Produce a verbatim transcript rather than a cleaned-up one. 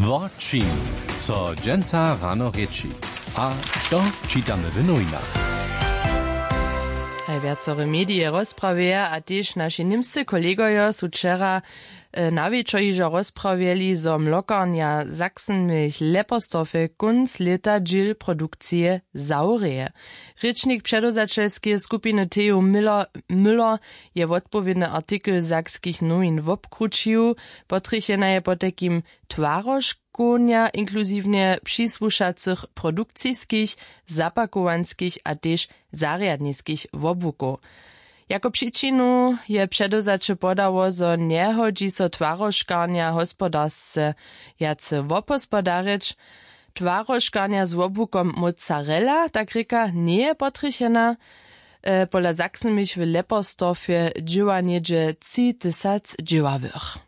Wo čim so dźensa rano rěči, a to čitamy w nowinach. Haj wjacore medije rozprawjeja a tež naši němscy kolegojo su wčera na wječor hižo rozprawjeli, zo mlokarnja Sachsenmilch Lepersdorfje kónc lěta dźěl produkcije zawrěje. Rěčnik předewzaćelskeje skupiny Theo Müller je wotpowědny artikel sakskich nowin wobkrućił. Potrjechena je potajkim twarožkownja inkluziwnje přisłušacych produkciskich, zapakowanskich a tež zarjadniskich wobłukow. Jako přičinu je předewzaće podało, zo njehodźi so twarožkarnja hospodarsce wjace wobhospodarjeć. Twarožkarnja z wobłukom mozzarella, tak rěka, njeje potrjechena. Pola Sachsenmilch w Lepersdorfje dźěła něhdźe tři tysac dźěławych.